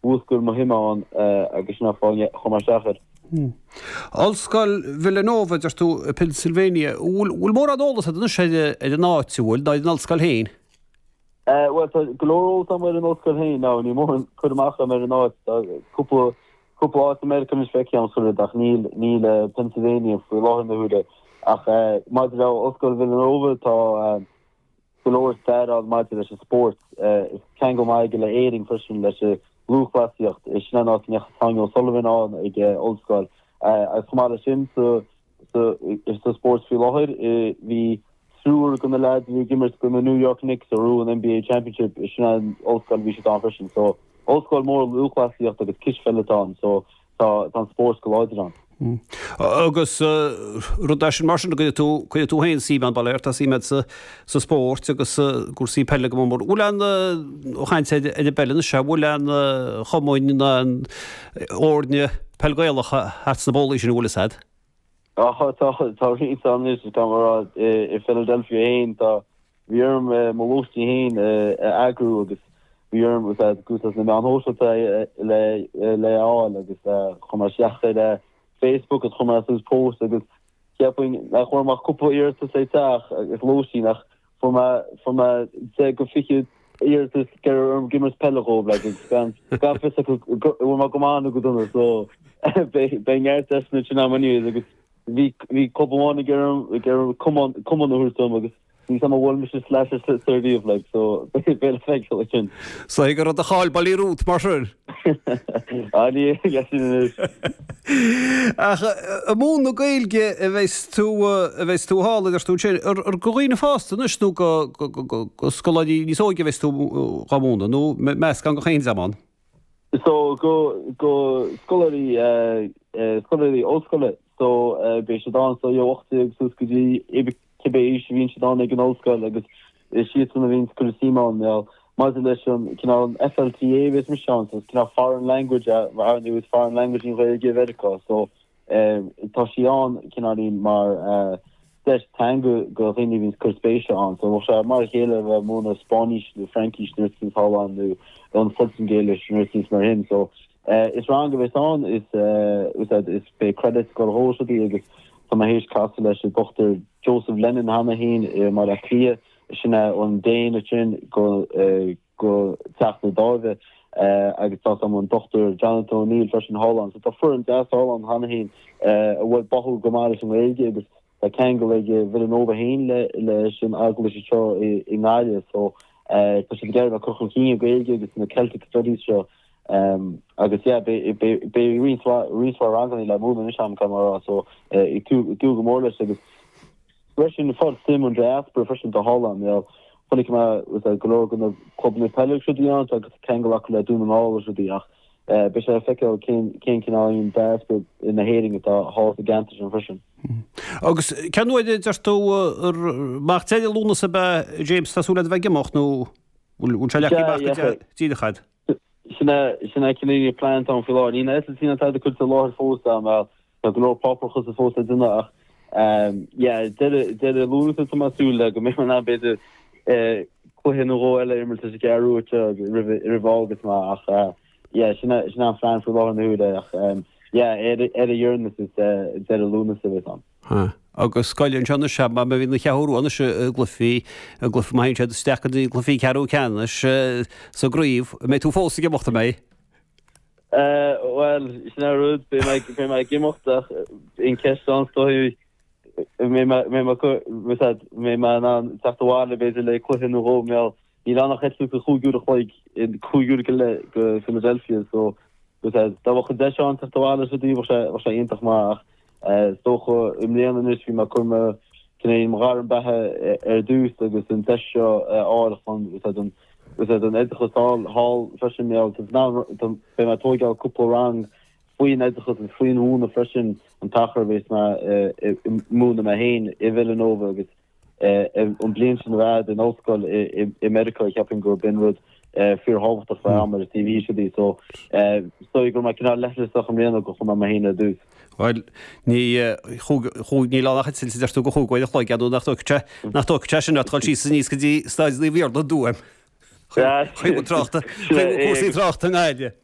mhúscail mo shuim ann agus sin an fáth a chuaigh mé isteach air. Ollscoil Villanova, a deir tú, i Pennsylvania. Bhfuil mórán eolas agat anois ar an áit, an bhfuil, nó ar an ollscoil féin? Bhuel, tá go leor eolas agam ar an ollscoil féin. Now, níl mórán cur amach agam ar an áit. Tá cúpla, cúpla áit i Meiriceá anois feicthe agam chuile ach níl, níl Pennsylvania faoi láthair na huaire. Ach maidir le Ollscoil Villanova, tá, go leor stair ann maidir leis an spórt. Is ceangal maith aige le Éirinn freisin, leis an lúthchleasaíocht. Sin an áit a ndeachaigh Sonia O'Sullivan ann ag ollscoil. Agus chomh maith leis sin, sa spórt faoi láthair, bhí triúr de na leaids a bhí ag imirt do na New York Knicks a ghnóthaigh an NBA Championship, sin an ollscoil a bhí siad ann freisin. So, ollscoil mór lúthchleasaíochta agus cispheile atá ann. So, tá an spórt go láidir ann. Agus rud é sin mar sin, cuirfidh tú, cuirfidh tú féin suim ann, bail ó Dhia ort, tá suim agat sa, sa spórt agus i gcúrsaí peile go mór mór. Bhfuil aon, ó chaint ar an bpeil anois, bhfuil aon chumainn ná aon fhoirne peil Gaelach thart sna bólaí sin, an bhfuil fhios a'd? Á, tá, tá roinnt ann anois, tá mé a rá, i Philadelphia féin, tá, Bhí orm mo lóistín féin a eagrú agus bhí orm úsáid na meáin shóisialta le le a fháil agus chuir mé isteach ar Facebook agus chuir mé suas post agus cheapfainn nach bhfuair mé ach cúpla iarratas le teach agus lóistín ach fuair mé fuair mé 10 go 20 iarratas ag iarraidh orm ag imirt peile dhóibh like agus gan gan fios acu go bhfuil mé go maith nó go dona so beidh beidh neart deiseanna sin agam anyways agus bhí bhí club amháin ag iarraidh ag iarraidh cumann cumann a thabhairt dom agus Níl 's a'm an bhfuail mise slasher sa riamh like so beidh le feiceáil ansin. Is dóigh go raibh do cháil bailithe romhat mar sin. Ah ní hea sin anois. Ach ag múineadh na Gaeilge a bheas tú a bheas tú thall a deir tú ansin. Ar ar go dhaoine fásta anois nó go go go go scoláirí níos óige a bheas tú dhá múineadh nó meascán de chaon dream ann? So go go scoláirí scoláirí ollscoile so beidh siad ann so ó 18 suas go dtí cibé aois a bhíonn siad ann ag an ollscoil agus is iadsan a bhíonn ag cur suim ann now maidir leis an cineál an FLTA a bheas mise ann so is cineál foreign language ar ndóigh is foreign language í an Ghaeilge i Mheiriceá so tá sí ann cineáilín mar deis teanga go dhaoine a bhíonn ag cur spéise ann. So bheadh sé mar a chéile a bheith ag múineadh Spáinnis nó Fraincis nó rud éicint thall ann nó an Phortaingéilis nó rud éicint mar sin. So is rang a bheas ann is is beidh credits ag dul dhó is rudaí agus tá mé théis casadh leis an Dr Joseph Lennon cheana féin i mBaile Átha Cliath sin é an Déan ansin go go Teach na Dáimhe agus tá an Dr Jonathan O'Neill freisin thall ann. So tá foireann deas thall ann cheana féin a bhfuil báúil go maith leis an nGaeilge agus tá ceangal ag Villanova féin leis an eaglais seo i nGaillimh so tá siad ag iarraidh a bheith ag cur chun cinn an Ghaeilge agus na Celtic Studies seo agus yeah beidh roinnt mhaith ranganna le múineadh anois agam caithfidh mé a rá so ag dúil go mór leis agus Freisin, fáil suim an diaspora freisin atá thall ann. Bhuel, chonaic mé go leor de na clubanna peile agus rudaí ann, agus ceangal acu le Dún na nGall agus rudaí, ach beidh sé le feiceáil cén cén cineál diaspora na hÉireann atá thall sa gceantar sin freisin. Agus cén uair a deir tú amach deireadh Lúnasa ab ea, James, tá súil agat a bheith ag imeacht nó bhfuil sé leagtha amach go díreach agat? Sin é sin é cineál an plean atá ann faoi láthair. Níl na eitiltí ná tada curtha i láthair fós agam, bhuel, Tá go leor páipéarachas fós le déanamh ach yeah deireadh deireadh Lúnasa tá mé ag súil le go mbeidh mé in ann b'fhéidir cluiche nó dhó eile a imirt leis an gCeathrú Rua roimh roimh fhágáil mé ach yeah sin é sin é an phlean faoi láthair na huaire ach yeah ar ar a dheireanas is deireadh Lúnasa a bheas ann. Ha. Agus scoil anseo anois má bhíonn an Cheathrú Rua anois i gcluichí i gcluiche má théann siad isteach go dtí cluichí ceathrú ceannais sa gcraobh, an mbeidh tú fós ag imeacht an mbeidh? Bhuel, sin é an rud, beidh mé beidh mé ag imeacht ach an cheist ann is dóigh an mbeidh mé mbeidh mé mbeidh mé in ann teacht abhaile b'fhéidir le cluiche nó dhó mar níl ann ach eitilt de chúig uair a chloig, cúig uair go leith go Philadelphia so dá mbeadh an deis ann teacht abhaile is rudaí bheadh sé bheadh sé iontach maith ach is dócha i mbliana anois bhí mé ag cur mo cineál mo ghairm beatha ar dtús agus an deis seo a fháil chun an Is é don oideachas thall thall freisin mé beidh mé ag tóigeáil cúpla rang faoin oideachas agus faoin mhúineadh freisin an t-achar a bhéas mé ag múineadh mé féin i Villanova agus an bliain sin a bheith in ollscoil i Meiriceá cheapfainn gurb in rud fíorthábhachtach bheith agam ar an CV is rudaí so is dóigh go raibh mé cineál leithleasach i mbliana go chuir mé mé féin ar dtús. Bhuel, ní chúig, níl ann ach eitilt a deir tú de chúig uair a chloig, nó nach dtógfaidh sé, nach dtógfaidh sé sin ort dul síos aníos go dtí Staid Naomh Iarlaith i dTuaim. Chuig tráchta, chuig cúrsaí tráchta i nGaillimh.